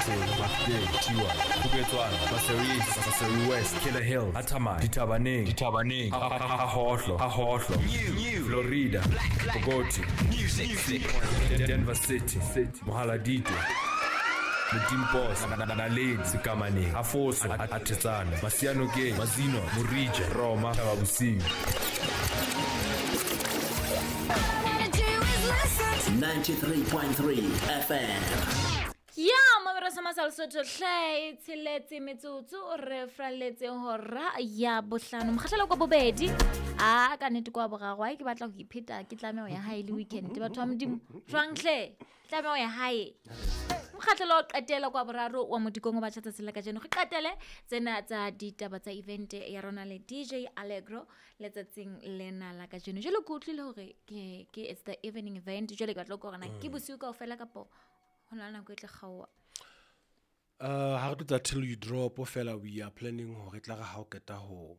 Mafikeng, Mafikeng, Tiwa, Khupetswana, Pasir East, Pasir West, Killer Hill, Athamai, Dithabaneng, Dithabaneng, Ha Hohlo, Ha Hohlo, Florida, Bogoti, Music, Denver City, City, Mohaladitwe, Modimpos, Naledi, Sekamaneng, Afoso, Athetsane, Masianokeng, Mazino, Morija, Roma, Thaba Bosiu. 93.3 FM. Ya mamero sa masal Sotho hle e tsheletse metsotso re fraletse hora ya bohlano, mokgahlelo kwa bobedi a ka nnete kwa boraro. Ai, ke batla ho ipheta, ke tlameho ya hae le weekend. Batho ba Modimo, jwang hle, tlameho ya hae. Mokgahlelo wa qetela kwa boraro wa Modikong o batjha tsatsing la kajeno, re qetele tsena tsa ditaba tsa event ya rona le DJ Allegro letsatsing lena la kajeno. Jwale ke utlwile hore ke it's the evening event. Jwale ke batla ho utlwa hore na ke bosiu kaofela kapo ho na le nako e tla kgaoha. Ha re tlo tsa till you drop fela, we are planning hore tla re ha o qeta ho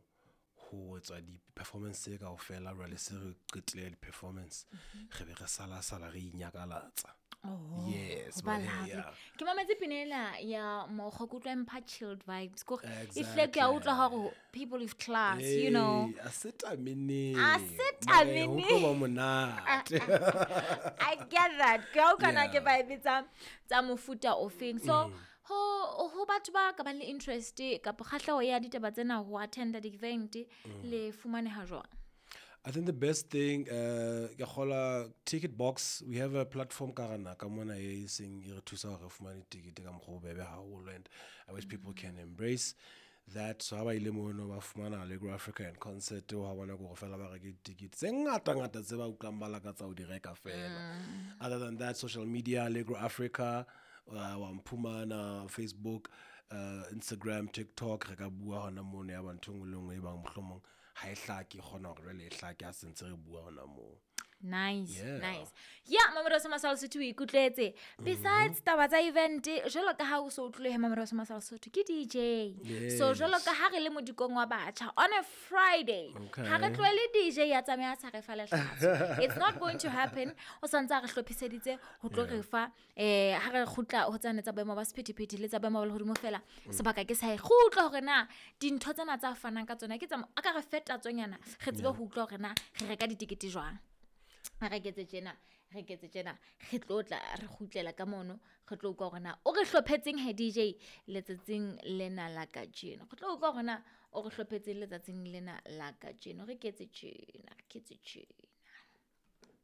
etsa di-performance tse kaofela, jwale se re qetile di-performance, re be re sala sala re inyakalatsa. Yes. Ba but, lovely. Yeah. Ke mametse pina ena ya mokgo, ke utlwa e mpha chilled vibes kore e hle ke a utlwa hore people with class. Hey, a setameneng. A setameneng. Ho tlo ba monate. I get that. Ke a utlwa na ke vibe tsa mofuta ofeng. So ho batho ba ka bang le interest kapa kgahleho ya ditaba tsena ho attenda di-event, le fumaneha jwang? I think the best thing, ke kgola ticket box. We have a platform ka rana ka mona e seng e re thusa hore re fumane ticket ka mokgwa o bobebe haholo, and I wish people can embrace that. So ha ba ile mono ba fumana Allegro Africa and concert, ha bona ke hore fela ba reke ticket tse ngata ngata tse ba utlwang ba lakatsa ho di reka fela. Other than that, social media, Allegro Africa, wa mphumana Facebook, Instagram, TikTok, re ka bua hona mono ya ba ntho e nngwe le nngwe e bang mohlomong ha e hlake, e kgona hore jwale e hlake ha se ntse re bua hona moo. Nice. Yeah. Nice. Ya mamero sa Masal Sotho o ikutlwetse. Besides taba tsa event, jwalo ka ha o so utlwile he mamero sa Masal Sotho ke DJ. So jwalo ka ha re le modikong wa batjha on a Friday, ha re tlohele DJ ya tsamaya sa re fa lehlatso. It's not going to happen. O santse a re hlophiseditse ho tlo re fa ha re kgutla ho tsane tsa boemo ba sephethephethe le tsa boemo ba lehodimo fela. Sebaka ke sa e kgutla hore na dintho tsena tsa fanang ka tsona ke tsa a ka re feta tsonyana, re tsebe ho utlwa hore na re reka ditekete jwang. Re ketse tjena, re ketse tjena, re tlo tla re kgutlela ka mono, re tlo utlwa hore na o re hlophetseng he DJ letsatsing lena la kajeno. Re tlo utlwa hore na o re hlophetseng letsatsing lena la kajeno. Re ketse tjena, re ketse tjena.